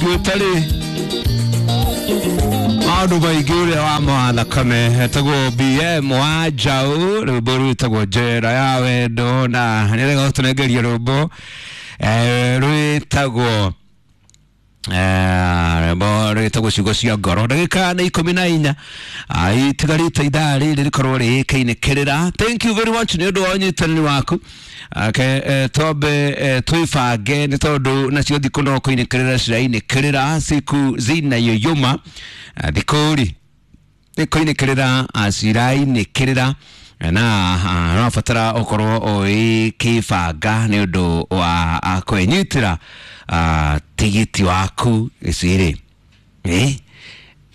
Gwĩtarĩ maũndũ maingĩ ũrĩa wa mathakame etagwo BM wa Njaũ, rwĩmbo rwĩtagwo Njera ya Wendo, na nĩrega gũtũnengeria rwĩmbo rwĩtagwo rwĩmbo rwĩtagwo Ciugo cia Ngoro. Ndagĩka nĩ 14 itigarĩte ithaa rĩrĩ rĩkorwo rĩkĩinĩkĩrĩra. Thank you very much nĩ ũndũ wa ũnyitanĩri waku. Okay, twambe twĩbange nĩ tondũ nacio thikũ no kũinĩkĩrĩra cirainĩkĩrĩra, siku zinayoyoma, thikũ rĩ nĩ kũinĩkĩrĩra cirainĩkĩrĩra, na ũrabatara ũkorwo ũgĩkĩbanga nĩ ũndũ wa kwĩnyitĩra tigiti waku. Ici rĩ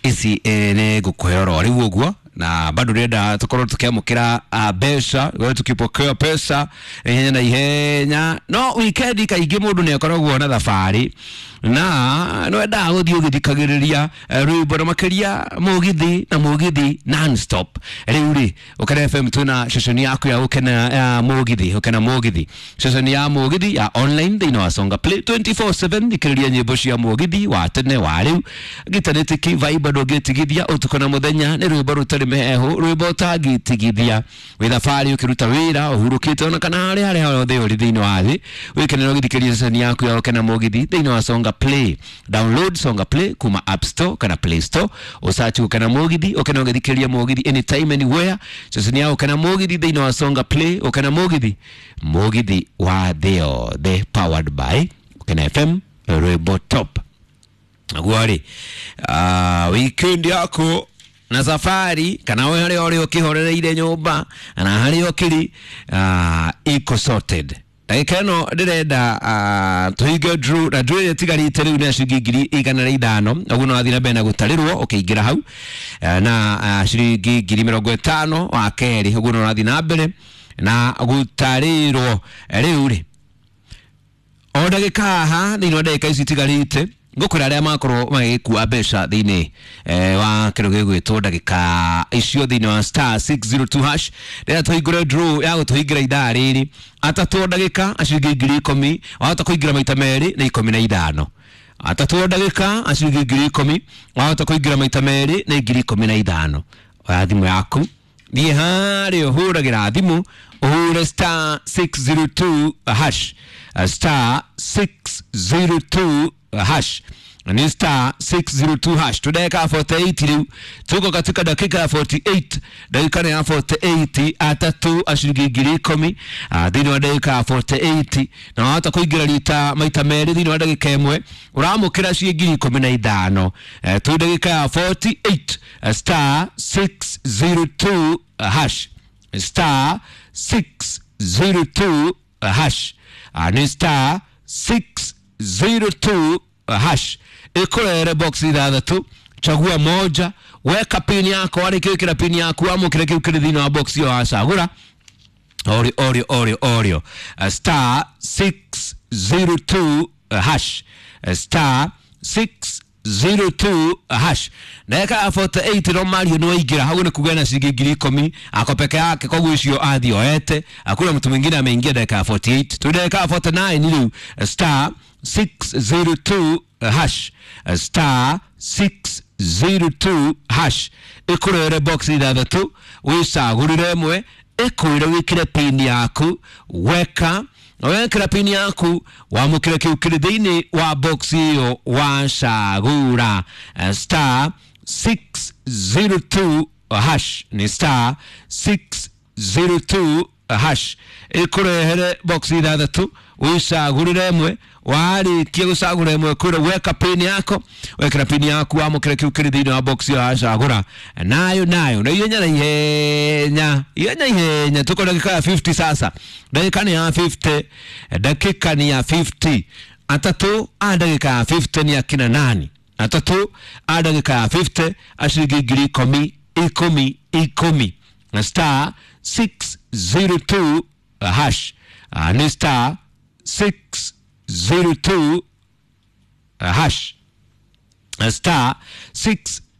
ici nĩ ngũkũhe oro rĩu ũguo, na bado ndĩrenda tũkorwo tũkĩamũkĩra mbeca, tukipokea pesa ihenya na ihenya. No weekend kaingĩ mũndũ nĩ akoragwo na thabarĩ na no endaga gũthiĩ ũgĩthikagĩrĩria rwĩmbo, na makĩria mũgithi na mũgithi non-stop. Rĩu rĩ, Ũkena FM twĩna ceceni yaku ya gũkena ya mũgithi, Ũkena Mũgithi, ceceni ya mũgithi ya online thĩinĩ wa Songa Play 24/7. Thikĩrĩria nyĩmbo cia mũgithi wa tene wa rĩu, gitanĩtĩki vibe ndũngĩtigithia ũtukũ na mũthenya, nĩ rwĩmbo rũtarĩ mĩhehu, rwĩmbo ũtangĩtigithia wĩ thabarĩ, ũkĩruta wĩra, ũhurũkĩte, ona kana harĩa harĩa hothe ũrĩ thĩinĩ wa thĩ, wĩkenera ũgĩthikĩrĩria ceceni yaku ya Ũkena Mũgithi thĩinĩ wa Songa Play. Download Songa Play kuma App Store kana Play Store, ũsearch Ũkena Mũgithi, ũkena ũgĩthikĩrĩria mũgithi anytime anywhere. Ceceni ya Ũkena Mũgithi thĩinĩ wa Songa Play, Ũkena Mũgithi, mũgithi wa thĩ yothe, powered by Ũkena FM, rwĩmbo top. Naguo rĩ, weekend yaku na safari kana we harĩa ũrĩ ũkĩhorereire nyũmba na harĩa ũkĩrĩ iko sorted. Ndagĩka ĩno ndĩrenda tũhinge draw, na draw ĩrĩa ĩtigarĩte rĩu nĩ ya ciringi 105,000. Ũguo no wathiĩ na mbere na gũtarĩrwo ũkĩingĩra hau, na ciringi 50,000 wa kerĩ. Ũguo no ũrathiĩ na mbere na gũtarĩrwo. Rĩu rĩ, o ndagĩka haha, thĩinĩ wa ndagĩka ici itigarĩte, ngũkwĩra arĩa makorwo magĩkua mbeca thĩinĩ wa kĩndũ gĩgwĩtwo ndagĩka icio thĩinĩ wa *602#. Rĩrĩa tũhingũre draw ya gũtũhingĩra ithaa rĩrĩ, atatũ o ndagĩka a ciringi 10,000, wahota kũingĩra maita merĩ nĩ 15. Atatũ o ndagĩka a ciringi 10,000, wahota kũingĩra maita merĩ nĩ 15,000. Oya thimũ yaku, thiĩ harĩa ũhũragĩra thimũ, ũhũre *602#, *602#, ni *602#. Tudeka 48 rĩu, tuko katika dakika ya 48, dakika ya 48. Atatũ a ciringi 10,000 thĩinĩ wa ndagĩka ya 48, na wahota kũingĩra rita maita merĩ thĩinĩ wa ndagĩka ĩmwe, ũramũkĩra ciĩ 15,000. Twĩ ndagĩka ya 48, *602#, *602#, nĩ *602#. Ĩkũrere box ithathatũ, chagua moja, weka pin yako, warĩkia gwĩkĩra pin yaku, wamũkĩre kĩu kĩrĩ thĩinĩ wa box ĩyo wacagũra. Orio orio orio orio, *602#, *602#. Ndagĩka ya 48, no Mario nĩ waingĩra hau, nĩ kuga na ciringi 10,000 ako peke yake, koguo icio athiĩ oete, hakuna mtu mwingine ameingia dakika ya 48. Tu dakika ya 49 rĩu, *602#, *602#, ĩkũrere box ithathatũ, wĩcagũrĩre ĩmwe, ĩkwĩre wĩkĩre pin yaku. Weka wekĩra pin yaku, wamũkĩre kĩu kĩrĩ thĩinĩ wa box ĩyo wacagũra. *602#, nĩ *602#, ĩkũrehere box ithathatũ, wĩcagũrĩre ĩmwe. Warĩkia gũcagũra ĩmwe, kwĩra weka pin yako, wekĩra pin yaku, wamũkĩra kĩu kĩrĩ thĩinĩ wa box ĩyo wacagũra. Nayo nayo na ihenya na ihenya, ihenya ihenya, tuko dakika ya 50 sasa, dakika ni ya 50, dakika ni ya 50. Atatũ a ndagĩka ya 50 ni akina nani? Atatũ a ndagĩka ya 50 a ciringi 10,000 ikũmi ikũmi, na *602#, nĩ *602#,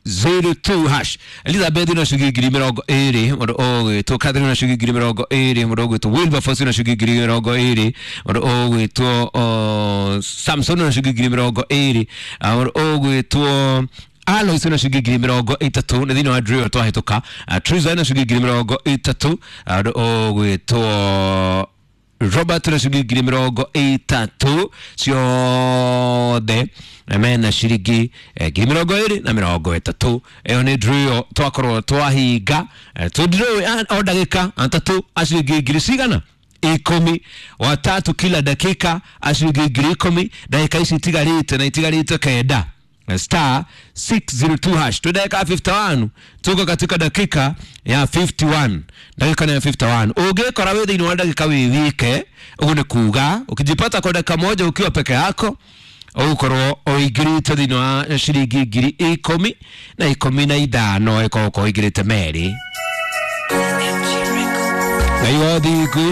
602 hash. Elizabeth na ciringi 20,000, mũndũ ũgwĩtwo Catherine na ciringi 20,000, mũndũ ũgwĩtwo Wilberforce na ciringi 20,000, mũndũ ũgwĩtwo Samson na ciringi 20,000, mũndũ ũgwĩtwo Alois na ciringi 30,000 nĩ thĩinĩ wa drill twahĩtũka. Triza na ciringi 30,000, mũndũ ũgwĩtwo Robert na ciringi 30,000, ciothe mena ciringi 20,030. Ĩyo nĩ drill twakorwo twahinga. Tũ drill o ndagĩka atatũ a ciringi ngiri cigana 10, watatu kila dakika a ciringi 10,000. Ndagĩka ici itigarĩte na itigarĩte 9. Star 602 hash. Tu dakika 51, tuko katika dakika ya 51, dakika ya 51. Ungikora wi thiini wa dakika wi wike uguo ni kuga ukijipata kwa dakika moja ukiwa peke yako ugukorwo uingirite thiini wa ciringi 10,000 na 15, ĩkorwo ũingĩrĩte merĩ. Ngai wa thingu.